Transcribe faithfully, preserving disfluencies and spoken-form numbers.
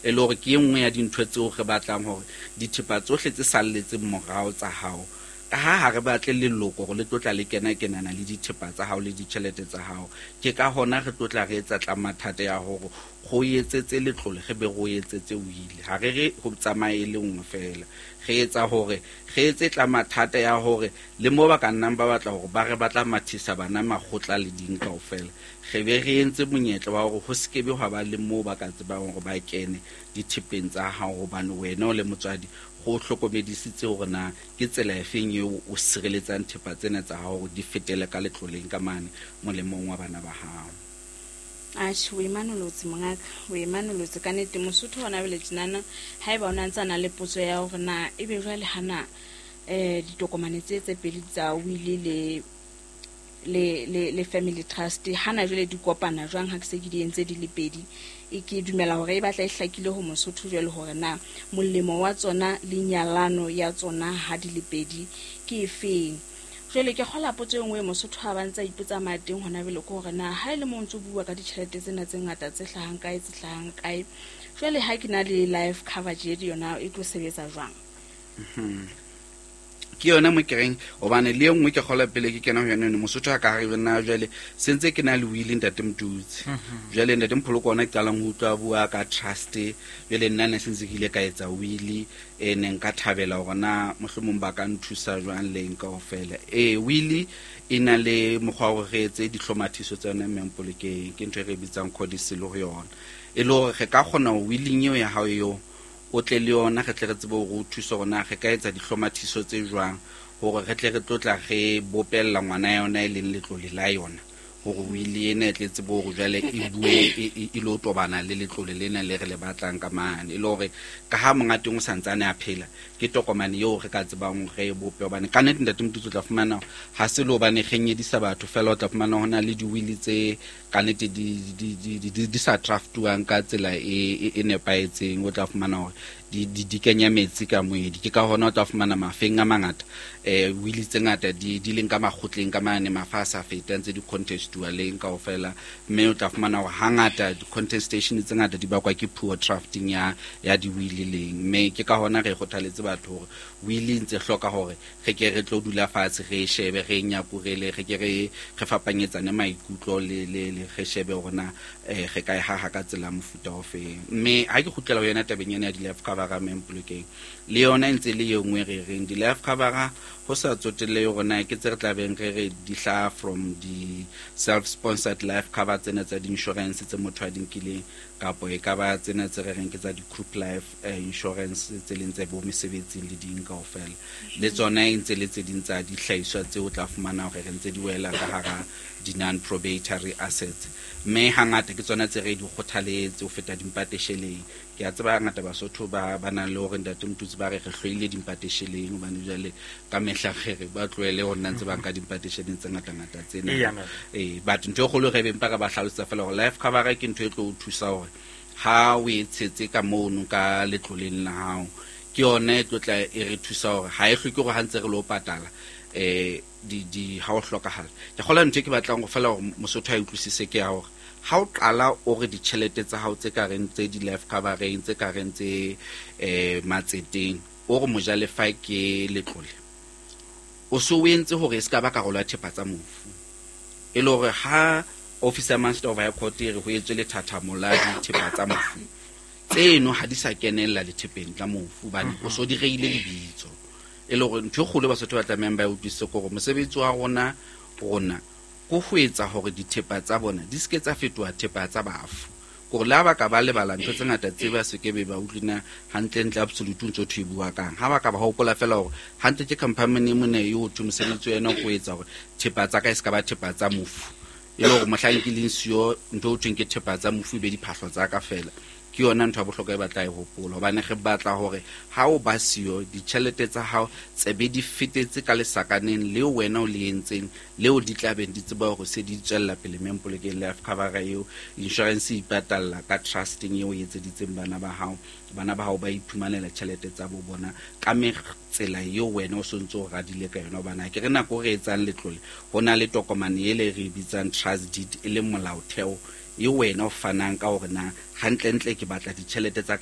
E le hore ke e nngwe ya dintho tseo re batlang hore dithepa tsohle tse salletseng morao tsa hao, ka ha ha re batle leloko hore le tlo tla le kena kenana le dithepa tsa hao le ditjhelete tsa hao. Ke ka hona re tlo tla re etsa tlamathata ya hore go etsetse letlole, re be go etsetse wili. Ha re re ho tsamaye e le nngwe feela, re etsa hore re etse tlamathata ya hore le mo ba ka nnang ba batla hore ba re batla mathisa bana makgotla le ding kaofela, re be re entse monyetla wa hore ho se ke be hwa ba le moo ba ka tsebang hore ba kene dithepeng tsa hao, hobane wena o le motswadi go hlokomedisitse hore na ke tsela efeng eo o sireletsang thepa tsena tsa hao hore di fetele ka letloleng ka mane molemong wa bana ba hao. Atjhe, o imanolotse mongaka, o imanolotse ka nnete. Mosotho hona jwale tjenana, haeba o na ntse a na le potso ya hore na ebe jwale hana um ditokomane tse tse pedi tsa wili le le le le family trust hana jwale di kopana jwang ha ke se ke di entse di le pedi, e ke dumela hore e batla e hlakile ho Mosotho jwale hore na molemo wa tsona le nyalano ya tsona ha di le pedi ke efeng. Jwale ke kgola potso e nngwe Mosotho ha ba ntse a ipotsa mateng hona jwale ke hore na ha e le mo ntso bua ka ditjhelete tsena tse ngata tse hlahang kae tse hlahang kae, jwale ha ke na le life cover je yona e tlo sebetsa jwang? Ke yona mo ke reng hobane le e nngwe ke kgola pele ke kena ho yona eno Mosotho a ka re nna jwale se ntse ke na le wili ntate Motutsi. Jwale ntate Mpholoko ona ke qalang ho utlwa bua ka trust, jwale nna ne se ntse ke ile ka etsa wili e neng ka thabela hore na mohlomong ba ka nthusa jwang le eng kaofela. Ee, wili e na le mokgwa wa hore re etse dihlomathiso tsa yona Mmempolokeng, ke ntho e re bitsang codicil ho yona, e le hore re ka kgona ho willing eo ya hao eo o tle le yona, re tle re tsebe hore o thuse hore na re ka etsa dihlomathiso tse jwang hore re tle re tlo tla re bopella ngwana yona e leng letlole la yona, hore wili ena e tle tsebe hore jwale e bue e, e lo tobana le letlole lena le re le batlang ka mane, e le hore ka ha monga teng o santsane a phela, ke tokomane eo re ka tsebang re e bope. Hobane ka nnete ntate Motutsi o tla fumana ha se le hobane re nyedisa batho fela, o tla fumana ho na le diwili tse ka nnete di, di, di, di, di sa draftuwang ka tsela e, e, e nepahetseng. O tla fumana hore di, di, di kenya metsi ka moedi. Ke ka hona o tla fumana mafeng a mangata eh wili tse ngata di, di leng ka makgotleng ka mane, mafa a sa fetang tse di contestuwa leng kaofela, mme o tla fumana hore hangata di-contestation tse ngata di bakwa ke poor drafting ya, ya diwili leng. Mme ke ka hona re kgothaletse batho hore wili e ntse hloka hore re ke re tlo dula fatshe re e shebe, re e nyakurele, re ke re re fapanyetsane maikutlo le, le, le re shebe hore na eh, re ka e haha ka tsela mofuta o feng. Mme ha ke kgutlela ho yona tabeng ena ya di-life cover Mmempolokeng, le yona e ntse le e nngwe re reng di-life cover ho sa tsotelle hore na ke tse re tlabeng re re di hlaha from di-self-sponsored life cover tsena tsa di-insurance tse motho a di nkileng, kapo e ka ba tsena tse re reng ke tsa di-group life eh, insurance tse leng tse bo mesebetsing le ding kaofela, le tsona e ntse le tse ding tsa dihlahiswa tseo o tla fumana hore re ntse di wela ka hara di-non-probatory assets. Mme hangata ke tsona tse re di kgothaletse ho feta dimpatesheleng. Ke a tseba hangata Basotho ba, ba nang le hore ntate Motutsi ba re re hloile dimpatesheleng, hobane jwale ka mehla re re ba tlohele ho nna ntse ba nka dimpatesheleng tse ngata-ngata tsena. Eya, ma'am. Eh, but ntho e kgolo re beng pa re ba hlalosetsa fela hore life cover ke ntho e tlo o thusa hore ha o e tshetse ka mono ka letloleng la hao, ke yona e tlo tla e re thusa hore ha e hloke hore ha ntse re lo patala eh di, di ha o hlokahala. Ke kgolwa ntho e ke batlang ho fela hore Mosotho a utlwisise ke ya hore ha o qala o re ditjhelete tsa hao tse ka reng tse di-life cover-eng, tse ka reng tse eh matseteng, o re mojalefa ke letlole, o so o entse hore e se ka ba karolo ya thepa tsa mofu, e le hore ha office ya Master of High Court e re ho etswe lethathamo la dithepa tsa mofu, tseno ha di sa kenella lethepeng tla mofu hobane o so di reile lebitso. E le hore ntho e kgolo Basotho ba tlamehang ba e utlwisise ke hore mosebetsi wa rona rona ke ho etsa hore dithepa tsa bona di se ke tsa fetoha thepa tsa bafu, kore le ha ba ka ba lebala ntho tse ngata tse ba se ke be ba utlwina hantlentle absolute ntso thwe e bua kang, ha ba ka ba hopola fela hore hantle ke company mona eo thwe mosebetsi wa yona ke ho etsa hore thepa tsa ka e se ka ba thepa tsa mofu, e le hore mohlang ke leng siyo ntho eo thweng ke thepa tsa mofu e be diphahlo tsa ka fela. Ke yona ntho ya bohlokwa e batla e hopola, hobane re batla hore ha o ba siyo ditjhelete tsa hao tsebe di fetetse ka lesakaneng leo wena o le entseng, leo di tla beng di tseba hore se di tswella pele Mmempolokeng life cover eo. Insurance e ipatalla ka trusting eo o etseditseng bana ba hao, bana ba hao ba iphumanela tjhelete tsa bo bona ka tsela eo wena o sontso o radile ka yona. Hobane ha ke re nako re etsang letlole ho na le tokomane ele re e bitsang trust deed, e leng molaotheo e wena o fanang ka hore na hantlentle ke batla ditjhelete tsa ka